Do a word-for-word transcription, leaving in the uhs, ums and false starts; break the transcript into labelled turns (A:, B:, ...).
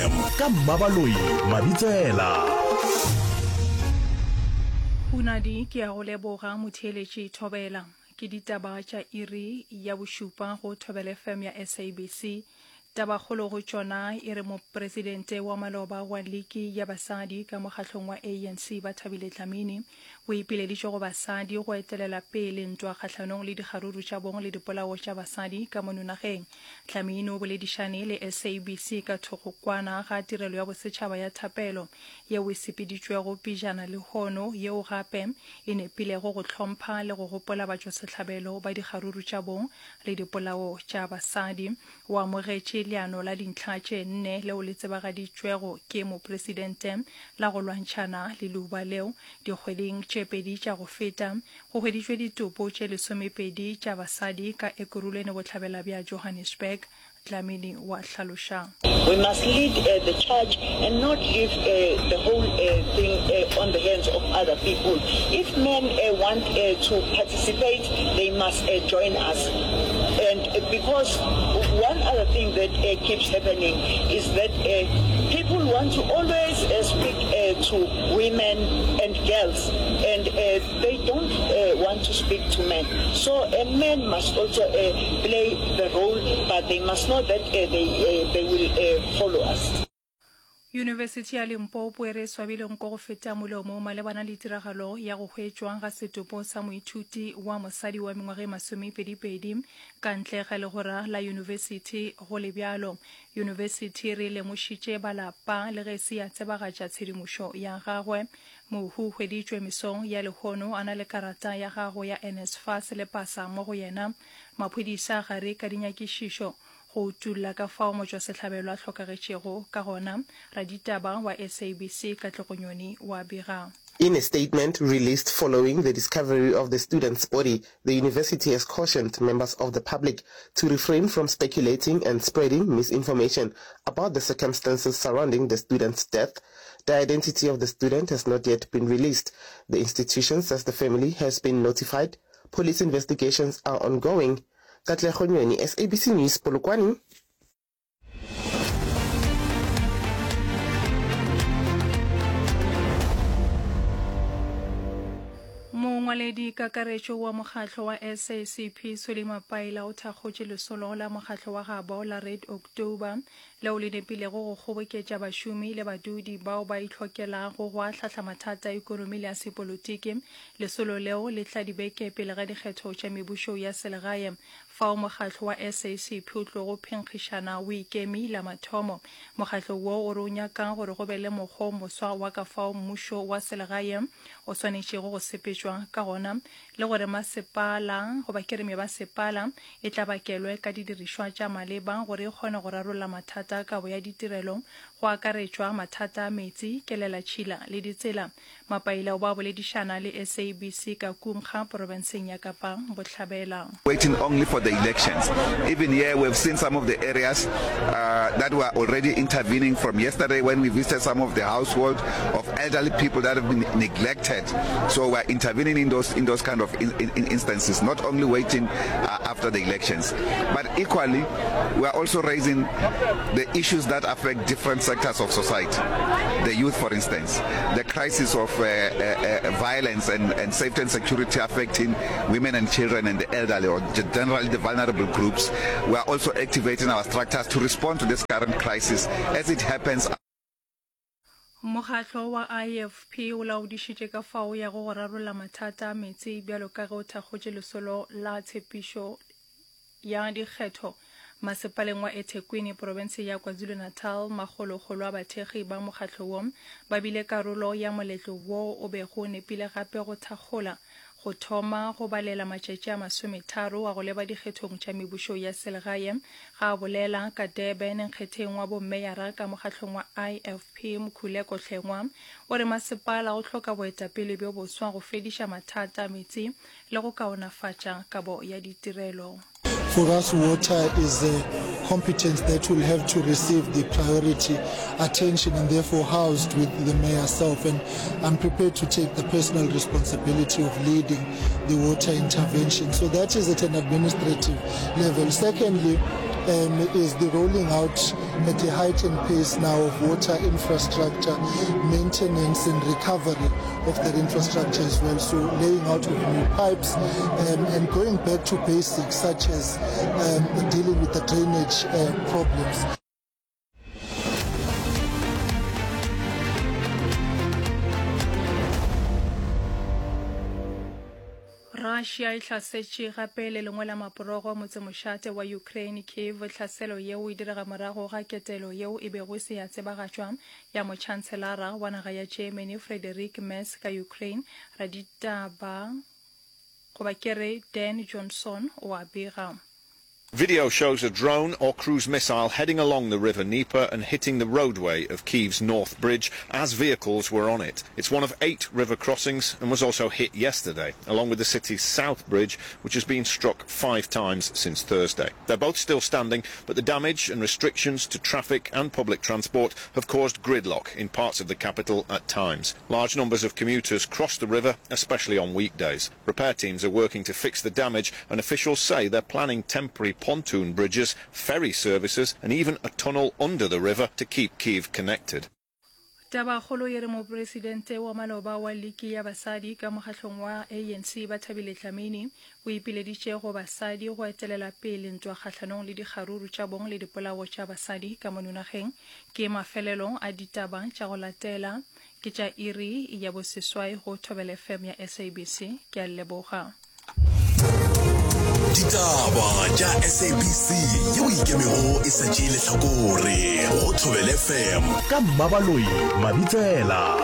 A: Ka Mmabaloi Mabitsela.
B: Hunadi ke a go leboga motheeletši Thobela. Ke ditaba tša iri ya bošupa go Thobela F M ya S A B C. Tabakgolo go tšona e re mopresidente wa maloba wa liki ya basadi ka mokgahlong wa A N C Bathabile Dlamini o ipileditše go basadi go etelela pele ntwa kgahlanong le dikgaruru tša bong le dipolao tša basadi ka mono nageng. Dlamini o boledišane le S A B C ka thokgokwana ga tirelo ya bosetšhaba ya thapelo yeo e sepeditšwego pejana lehono, yeo gape e nepilego go hlompha le go gopola batšwasehlabelo ba dikgaruru tša bong le dipolao tša basadi. O amogetše leano la dintlha tše nne leo le tsebagaditšwego ke mopresidente la go lwantšhana le leuba leo. Dikgweding tše pedi tša go feta go hweditšwe ditopo tše lesomepedi tša basadi ka Ekurhuleni bohlabela bja Johannesburg. Dlamini wa hlaloša.
C: We must lead uh, the charge and not leave uh, the whole uh, thing uh, on the hands of other people. If men uh, want uh, to participate, they must uh, join us. And uh, because one other thing that uh, keeps happening is that uh, people want to always uh, speak uh, to women and girls, and uh, they don't uh, want to speak to men. So uh, men must also uh, play the role, but they must know that uh, they, uh, they will uh, follow us.
B: Yunibesithi ya Limpopo e re swabile nko go feta molomo malebana le tiragalo ya go hwetšwa ga setopo sa moithuti wa mosadi wa mengwaga e masomepedipedi ka ntle ga legora la yunibesithi. Go le bjalo, yunibesithi re lemošitše balapa le ge se ya tsebagatša tshedimošo ya gagwe. Mohu hweditšwe mesong ya lehono a na le karata ya gagwe ya N S F A S le pasa mo go yena. Maphodisa gare ka dinyakišišo go utulla ka fao motšwasehlabelo a hlokagetšego ka gona. Raditaba wa S A B C Katlego Nyoni wa bega.
D: In a statement released following the discovery of the student's body, the university has cautioned members of the public to refrain from speculating and spreading misinformation about the circumstances surrounding the student's death. The identity of the student has not yet been released. The institution says the family has been notified. Police investigations are ongoing. Katlego Nyoni, S A B C News, Polokwane.
B: Mongwaledi kakaretšo wa mokgatlo wa S A C P Solly Mapaila o thakgotše lesolo la mokgatlo wa gabo la Red October leo le nepilego go kgoboketša bašomi le badudi bao ba itlhokelago go ahlahla mathata a ikonomi le a sepolotiki. Lesolo leo le tla dibeke pele ga dikgetho tša mebušo ya selegae, fao mokgatlo wa S A C P o tlogo phenkgišana o ikemi la mathomo. Mokgatlo wo o re o nyaka gore go be le mokgwa o moswa wa ka fao mmušo wa selegae o swanetšego go sepetšwa ka gona, le gore masepala goba ke re mebasepala e tla bakelwe ka didirišwa tša maleba gore e kgone go rarolla mathata a kabo ya ditirelo, go akaretšwa mathata a metsi, kelelatšhila le ditsela. Mapaila o ba boledišana le S A B C ka Kumkga porofenseng ya Kapa Bohlabela.
E: Waiting only for the elections. Even here we've seen some of the areas uh, that were already intervening from yesterday when we visited some of the household of elderly people that have been neglected. So we're intervening in those, in those kind of in, in instances, not only waiting, uh, after the elections. But equally, we are also raising the issues that affect different sectors of society. The youth, for instance, the crisis of, uh, uh, uh, violence and, and safety and security affecting women and children and the elderly, or generally the vulnerable groups. We are also activating our structures to respond to this current crisis as it happens.
B: Mokgatlo wa I F P o laodišitše ka fao ya go rarolla mathata a meetse bjalo ka ge o thakgotše lesolo la tshepišo ya dikgetho masepaleng wa eThekwini province ya KwaZulu-Natal. Makgolokgolo a bathekgi ba mokgatlo wo ba bile karolo ya moletlo wo o bego o nepile gape go thakgola go thoma go balela matšatši a masometharo a go leba dikgethong tša mebušo ya selegae. Ga a bolela ka Durban nkgetheng wa bommeyara ka mokgatlong wa I F P Mkhuleko Hlengwa o re masepala o hloka boetapele bjo boswa go fediša mathata a metsi le go kaonafatša kabo ya ditirelo.
F: For us, water is a competence that will have to receive the priority attention and therefore housed with the mayor self. And I'm prepared to take the personal responsibility of leading the water intervention. So that is at an administrative level. Secondly, um, is the rolling out at a heightened pace now of water infrastructure, maintenance and recovery of that infrastructure as well. So laying out of new pipes um, and going back to basics such as um, dealing with the drainage uh, problems.
B: Russia e hlasetše gape le lengwe la maporogo motsemošate wa Ukraine Kiev. Tlhaselo yeo e direga morago ga ketelo yeo e bego e se ya tsebagatšwa ya motšhantselara wa naga ya Germany Friedrich Merz ka Ukraine. Raditaba goba ke re Dan Johnson o a bega.
G: Video shows a drone or cruise missile heading along the River Dnieper and hitting the roadway of Kyiv's North Bridge as vehicles were on it. It's one of eight river crossings and was also hit yesterday, along with the city's South Bridge, which has been struck five times since Thursday. They're both still standing, but the damage and restrictions to traffic and public transport have caused gridlock in parts of the capital at times. Large numbers of commuters cross the river, especially on weekdays. Repair teams are working to fix the damage, and officials say they're planning temporary pontoon bridges, ferry services and even a tunnel under the river to keep Kyiv connected.
B: Tabakgolo e re mopresidente wa maloba wa liki ya basadi ka mokgahlong wa A N C Bathabile Dlamini o ipileditše go basadi go etelela pele ntwa kgahlanong le dikgaruru tša bong le dipolao tša basadi ka mono nageng. Ke mafelelo a ditaba tša go latela ke tša iri ya boseswai go Thobela F M ya S A B C. Ke a leboga.
A: Ditaba tša S A B C yeo e ikemego e sa tšee lehlakore go Thobela F M ka Mmabaloi Mabitsela.